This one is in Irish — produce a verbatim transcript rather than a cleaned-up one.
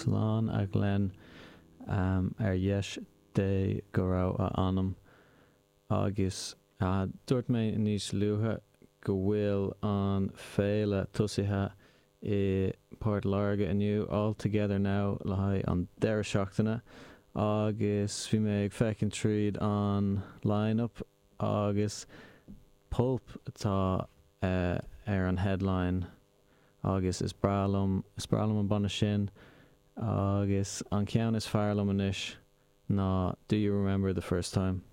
Slán a Ghleann ar dheis Dé go raibh a anam. Agus dúirt mé níos luaithe go bhfuil an féile tosaithe i Port Láirge inniu, All Together Now le haghaidh an deireadh seachtaine agus bhí mé ag féachaint tríd an line-up agus Pulp atá ar an headline agus is breá liom is breá liom an banna sin agus an ceann is fearr liom anois ná Do You Remember the First Time?